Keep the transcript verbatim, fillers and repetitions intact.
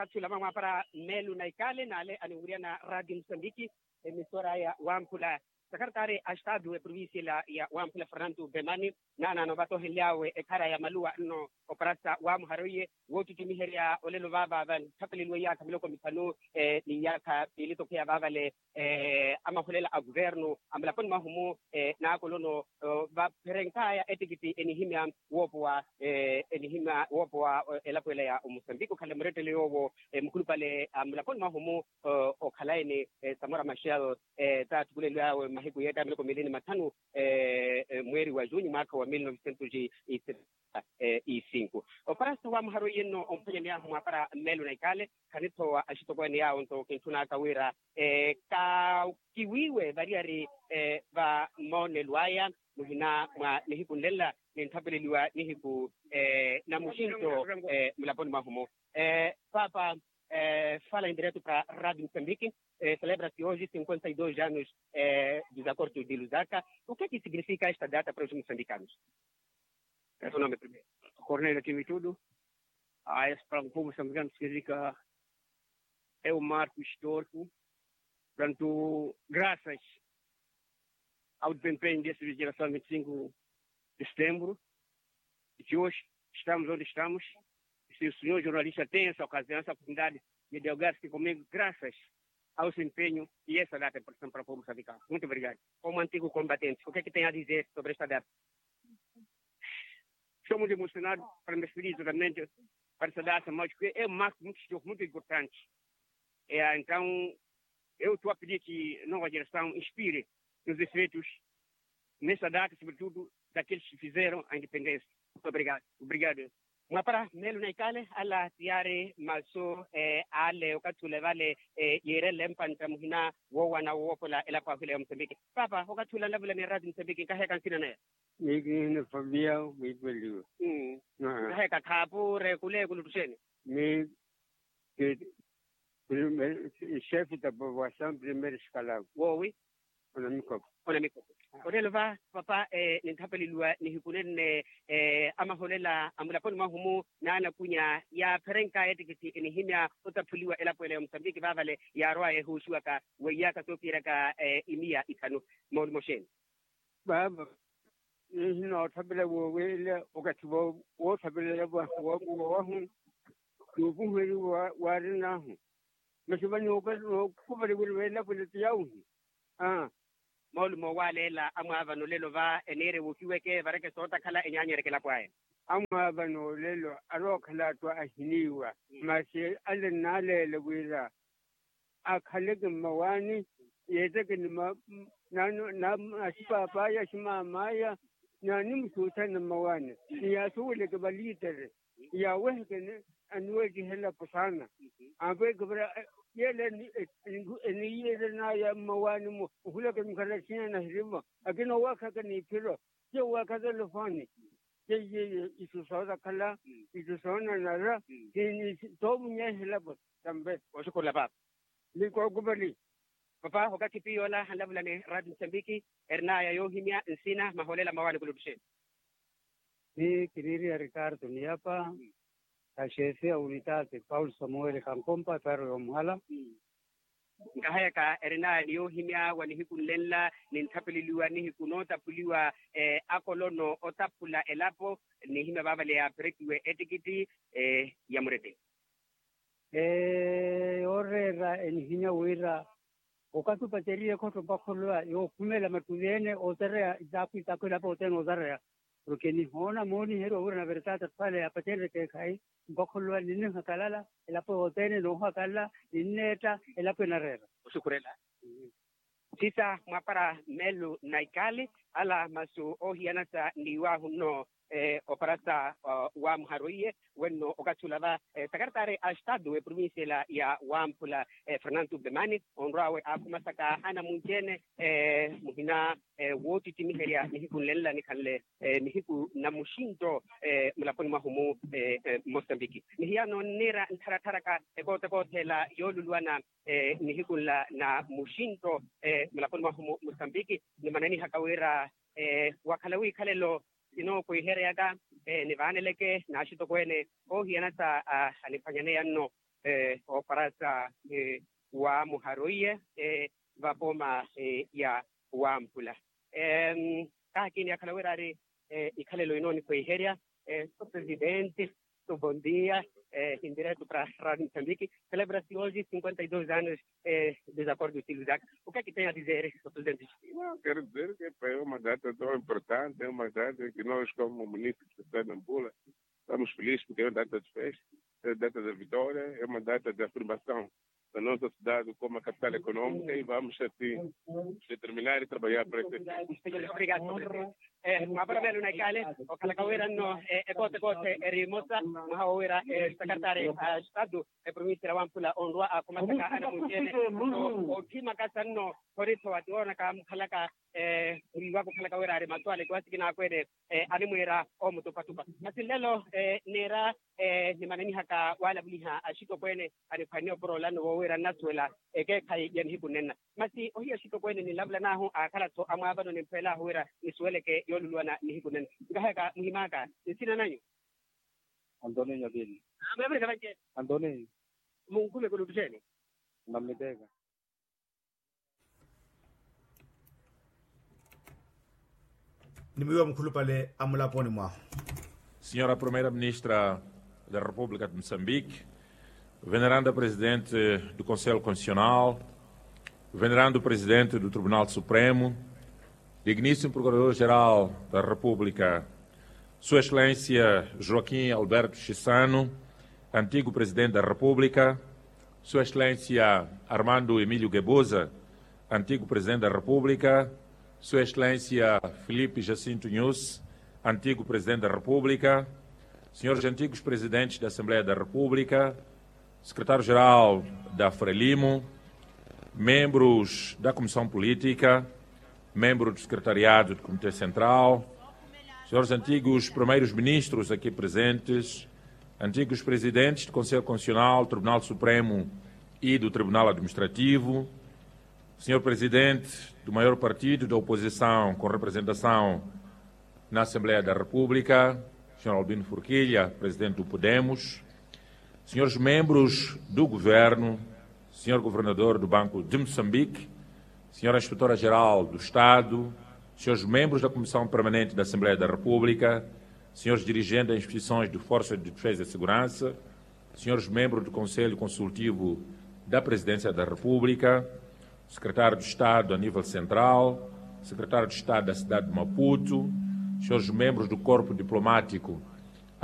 Okathi ula mwa mwaapara mmeelu na ikale n'ale aniwiriyana radio musambiki, emisora ya wamphula, sakartari a estadu eprovincia ela ya wamphula fernanto bemani, naanaano vatohenly'awe ekhara ya maluwa nno, oparasa wamuhara oiye woottuttimiherya olelo vaava vanthapeleliwa iyaakha miloko mithanu ni iyaakha piili tokheya vaavale, amaholela a kuvernu a mulaponi mwahu-mu, n'akolono vapherenk'aya ettikiti enihimya woopowa enihimya woopowa elapo ela ya omosambiki okhala murettele yoowo, mukhulupale a mulaponi mwahu-mu okhala ene, samora machel, taattukuleliw'awe mahiku yeetta miloko miili ni mathanu mweeri wa junyu mwaakha wa mil novecentos e cinco. Oparasa wamuhara oiye nno omphwanyaney'ahu mwaapara mmeelo na ikale, khanithowa axitokweene yaawo nto kintthun'aka wira kakiwiiwe variyari va moonelo aya muhina mwa nihiku nlenla, nintthapeleliwa nihiku na muxinto mulaponi mwahu-mu. Paapa, fala en direto para radio musambiki, celebra-se hoje cinquenta e dois anos dos acordos de lusaka. O que é que significa esta data para os moçambicanos? Cornelio kimitudu. Aya para o povo moçambicano significa é um marco histórico. Portanto, graças ao desempenho dessa geração vinte e cinco de setembro, de hoje estamos onde estamos. Se o senhor jornalista tem essa ocasião, essa oportunidade de dialogar-se comigo, graças ao seu empenho e essa data é importante para o povo moçambicano. Muito obrigado. Como antigo combatente, o que é que tem a dizer sobre esta data? Estou muito emocionado para me despedir totalmente para essa data, mas que é um marco muito, muito importante. É, então, eu estou a pedir que a nova geração inspire nos efeitos nessa data, sobretudo daqueles que fizeram a independência. Muito obrigado. Obrigado. Mwapara mmeelu na ikale ala tiyari masu ale okathi ule vale, yiirenle mpantta muhina woowana woopola elapo ahule ya musambiki. Paapa okathi ula nlavula ni eraati musambiki nkaheyaka nsina naya. Miyo kinihina fabia mwipeliwe. Nkaheyaka khaapu reekule kuluttuxeeni. Miyo ki, chefe da povoação primeiro escalavo woowi. Onamikopo. Onamikopo. Otelo va papa, ninthapeleliwa nihiku nenne amaholela a mulaponi mwahu-mu, naanakunya yaapherenka ettikiti enihimya otaphuliwa elapo ela ya musambiki vaavale yaarwaya ehuuxiwaka weiyaaka soophiyeraka imiya ithanu. Moolumo xeeni? Baaba, nihina otthapela woowelela okathi wootthapela elapo wahu, noopuhweli waarin'ahu. Masi vano nookupali wira veelapo ela ti yauhi. Moolumo waaleela amwaavano olelo va eniire wuukiweke vareke sootakhala enyaanyereke elapo aya. Amwaavano olelo arookhala atthu ahiniiwa, masi ale nnaaleele wira akhaleke mmawaani, yeeteke ni ma, na, na, na axipaap'aya aximaam'aya, na nimusuuthane mmawaani, ni yaasuweleke valiitere, yaaweheke aniweettihe elapo saana. Ampweeke para yeela eniiyeeren'aya mmawaani-mu ohuleke mikhala siina nahirimu, akina owaakhaka n'iphiro, ti owaakhaka olofooni. Seiye isu sootakhala, isu soonanara, soomunyeehe elapo. Tampe. Oxukhurela paapa. Ni kookupali. Papa okathi piyo ola anlavula ni radio musambiki, erin'aya yoohimya nsina maholela mmawaani kuluttuxeeni? Ni kiniiriya ricardo niyapa, axeefe a unitaati paulo samuweli kankompa epaaro yoomuhala. Nkaheyaka erin'aya ni yoohimya wa nihiku nlenla, ninthapeleliwa nihiku nootaphuliwa akolono otaphula elapo, nihimya vaavale yaapherekiwe ettikiti ya murete. Yooreera enihimya wira okathi opateriye ekhotto mpakholowa yookhumela mattuvi-ene ootareya isaakhu isaakhu elapo othene ootareya. Porke nihoona mooniheriwa wira na vertata tthwale yaapatenreke ekhayi, mpakholowa ninnihakalala elapo yothene noohakalala, ninneetta elapo enareera. Oxukhurela. Sisa mwapara mmeelu na ikale, ala masu oohiyanasa n'iwaahu nno, oparasa waamuhara oiye wenno okathi ula va, sakartari a estadu eprovincia ela ya wamphula, fernanto bemani, onrw'awe aakhumasaka anamunci-ene muhina woottittimiherya nihiku nlenla nikhanle nihiku na muxinto mulaponi mwahu-mu, mosambiki. Nihiyano nniira nttharatharaka ekootekoothe ela yooluluwana nihiku nla na muxinto mulaponi mwahu-mu mosambiki, nimananihaka wira wakhala wiikhalelo sinookwihereyaka nivaaneleke n'axitokweene oohiyanasa aniphwanyaneya nno. oparasa wa muharoiye vapooma ya wampula. Kaha kiini akhala wira ari ikhalelo ino onifweherya so presidente, so bondia, hindireto para radio mosambiki. Celebra-se hoje cinquenta e dois anos dos acordos de luzaka. O que é que tem a dizer, so presidente? Não, quero dizer que é uma data tão importante, é uma data que nós como município de santana mpula, estamos felizes porque é uma data de festa, é uma data da vitória, é uma data de afirmação da nossa cidade como a capital econômica e vamos assim determinar e trabalhar para esse efeito. Obrigado, so presidente. Mwaparomelo na ikale okhalaka wira nno ekote-kote eri emosa mwaha wowira esekretari a estado eprovincia ya wampula onrwa akhumasaka anamuncene othimaka sa nno khoriso atiwoonaka mukhalaka muliwaka okhalaka wira ari masu ale kiwasi kinaakweene animwiira omutupatupa. Masi nlelo neera nimananihaka walavuliha axitokweene aniphwanne oporola nno woowira nnasuwela ekeekhayi ya nihiku nnenna. Masi ohiya axitokweene ninlavulan'ahu aakhala-tho amwaavano nimphweel'ahu wira nisuweleke yooluluwana nihiku nnenna. Nkahayaka muhim'aka nsina nanyu? Antoninyo. Antoninyo. Munkhumeke oluttuxeeni. Nammitteeka. Ni miyo mukhulupale amulaponi mwahu. Senhora primeira ministra da república de moçambique, veneranda presidente do conselho constitucional, venerando presidente do tribunal supremo, digníssimo procurador geral da república, sua excelência joaquim alberto chissano, antigo presidente da república, sua excelência armando emílio guebuza, antigo presidente da república, sua excelência filipe jacinto nhuss, antigo presidente da república, senhores antigos presidentes da assembleia da república, secretário geral da frelimo, membros da comissão política, membro do secretariado do comité central, senhores antigos primeiros ministros aqui presentes, antigos presidentes do conselho constitucional, tribunal supremo e do tribunal administrativo, senhor presidente do maior partido da oposição com representação na assembleia da república, senhor albino forquilha, presidente do podemos, senhores membros do governo, senhor governador do banco de moçambique, senhora inspetora geral do estado, senhores membros da comissão permanente da assembleia da república, senhores dirigentes das instituições de forças de defesa e segurança, senhores membros do conselho consultivo da presidência da república, secretário de estado a nível central, secretário de estado da cidade de maputo, senhores membros do corpo diplomático